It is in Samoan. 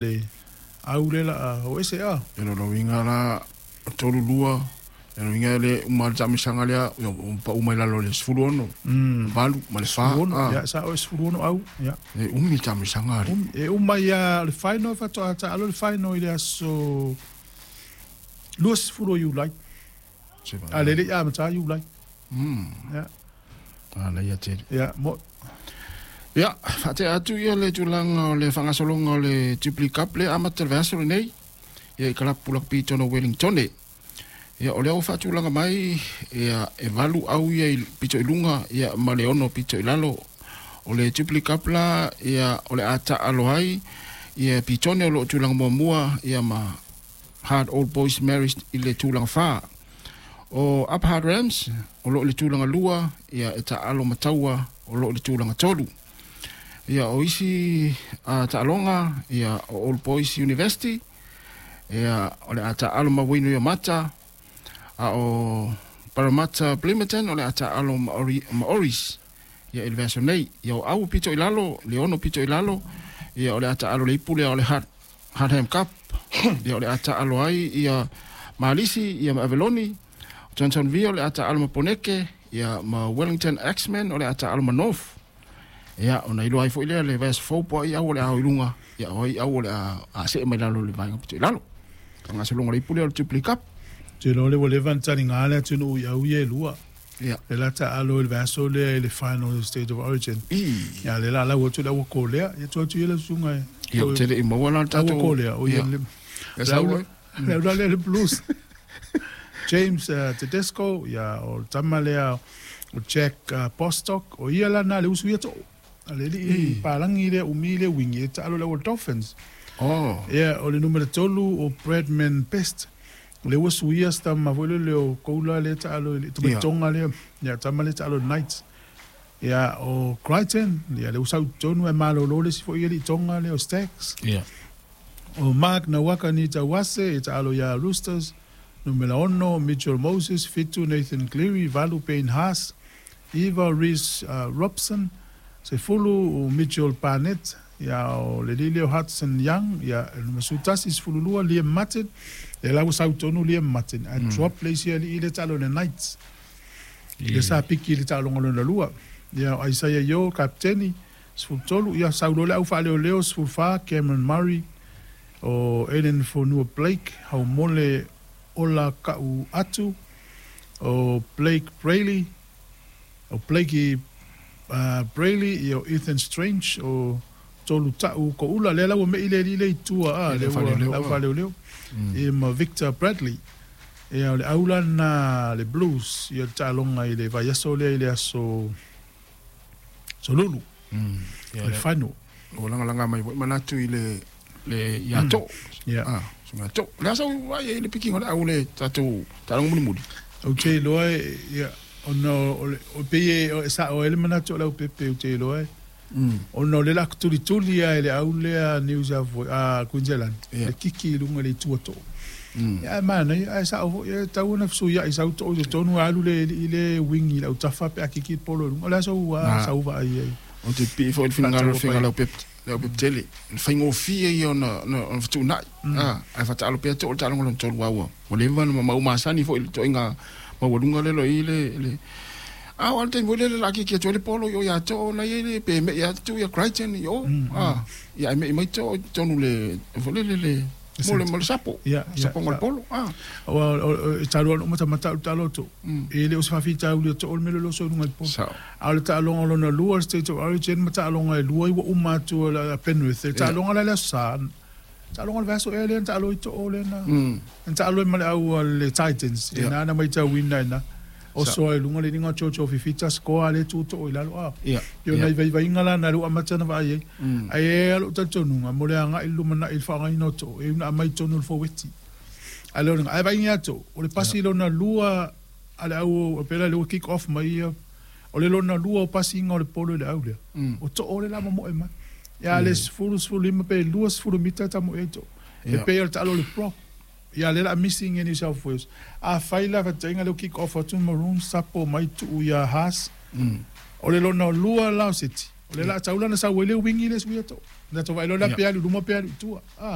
Le au le la o ese a. E lo winga la tolu lua e lo winga le uma le taamisaga lea pa uma i lalo le 16 valu ma le fa. Ia sa o 16 au ia. E umi le taamisaga ali. E uma ia le final faatoa taalo le final i le aso 20 Iulai. A le le a mata Iulai. Ia. A ia tele. Ia mo. Ia, faatea atu ia le tulaga o le faagasologa o le Jubilee Cup lea amata le vaiaso lenei. Ia i kalapu lakapi tonu o Wellington. Ia o lea ua faatulaga mai ia e 8 au ia i pito i luga ia ma le 6 pito i lalo. O le Jubilee Cup la ia o le a taalo ai ia Pitone o loo tulaga muamua ia ma Hard Old Boys Marist i le tulaga 4. O Upper Hard Rams o loo i le tulaga 2 ia e taalo ma Taua o loo i le tulaga 3. Ia o isi taaloga ia o Old Boys University ia o le a taalo ma Waino ia Mata a o Parramatta Plimmerton o le a taalo ma Oris ia i le vaiaso nei. Ia o au pito i lalo le 6 pito i lalo ia o le a taalo le ipu lea o le Hardham Cup ia o le a taalo ai ia Malisi ia ma Aveloni. Johnsonville o le a taalo ma Poneke ia ma Wellington X-Men o le a taalo ma North. Ia, ona iloa ai foi lea le vaiaso fou po ai au o le a o i luga, ia o ai au o le a see mai lalo le vaega pito i lalo. Faagasologa o le ipu lea o le Jubilee Cup. Te loa le ua leva ona taliga le atunuu i au ia e lua. Ia. Le la taalo i le vaiaso lea i le final State of Origin. Ia le la lau atu le aua kolea. Ia tu atu ia le susuga e. Ia, o te le i maua la le tatou. Aua kolea. O ia le. E sau ai. Le au la le Blues. James Tedesco, ia o le tama lea o Jack Bostock, o ia la na le usu ia to. Ale li palangi le umi le wingi e taalo le Dolphins. Oh. Ia o le numero 3 o Bradman Best. Le usu ia sta ma foi le o koula le taalo le tonga le ia tama le taalo Knights. Ia o Crichton, ia le usu tonu e malolo le si foi le tonga le o Stacks. Ia. O Mark Nawaka ni tawase e taalo ia Roosters. Numero 6 Mitchell Moses, 7 Nathan Cleary, 8 Payne Haas, 9 Reece Robson, 10 Mitchell Barnett, ia o le lile o Hudson Young, ia numero 11 Liam Martin, e lau sautonu Liam Martin, a drop le isi ali i le talo le Knights. Le sa piki le talo ngolona lua. Ia o Isaiah Yo, kapteni, 13, ia saulo le au whaaleo leo, 14 Cameron Murray, o Aiden Fonua Blake, Haumole Ola Ka'u Atu, o Blake Brailey, o Blakey Brailey, ia o Ethan Strange, o Tolu Ta'u Ko'ula, lea lau me ile ile i tua a, lea lau whaleoleo, e ma Victor Bradley, ia o le aula na le Blues, ia le ta'alonga i le vaiaso lea i le aso Solulu, le final. O langa mai manatu i le ia to. Ia. Sunga to. Le asa ai le pikinga le au le tatou ta'alonga mulimuli. O te loa ia ono o pe o sa o ele manatu o lau pepe o te loa. Ono le la tulituli ia le au lea New South Wales Queensland. Le kiki i lunga le tua to. Ia mana ia sa o ia tau na fusu ia i sau to o tonu alu le i le wing i lau tafa pe akiki polo lunga. O le asa ua sau va ai. O te pi fo il finga finga lau pepe. Leo pep tele, le faigofie ia ona fetuunai. Ae faataalo pea to'o le taaloga lona tolu aua. Ua leva ona mau masani foi i le toaiga maualuga lea lo i le a o ale taimi foi lea le laakiki atu ai le polo i o ia to'o na ia le pe me'i atu ia Crichton i o. Ia ae me'i mai to'o i totonu le foi lele le mo le mo le sapo. Sapoga o le polo. O talu alo matamata o le taalo to. E le o se faafitauli o to'o le mea lolo so i luga i le polo. A o le taaloga lona lua le State of Origin ma taaloga e lua i ua uma atu a Penrith. Le taaloga la le aso sa. Taaloga le vaiaso ea lea na taalo i to'o lea na. Na taalo ai ma le au le Titans. E na na maitauina ina. O soa i luga le liga o Jojo Fifita scoa le tu to'o i lalo a. Ia nai vaivaiga la na le ua amata na vaai ai. Ae e alo talitonuga mo le aga'i le lumanai i le faaaogaina o to'o e una aumai tonu le foweti. Ae le olega ae vaaiga ia to'o o le pasi lona lua a le au pela le ua kick off mai ia o le lona lua o pasiga o le polo i le au lea. O to'o le la momo'e mai. Ia le 10 15 pe 20 mita tamo'e ai to'o. E pei o le taalo le prop. Ia le la missing in New South Wales. A fai la fatainga le kick off atu Maroon sapo mai tuu ia Haas. O le lona lua la o City. O le la taula na sau ai le wingi le suia to. Na to vai lo la pe alu luma pe alu tua.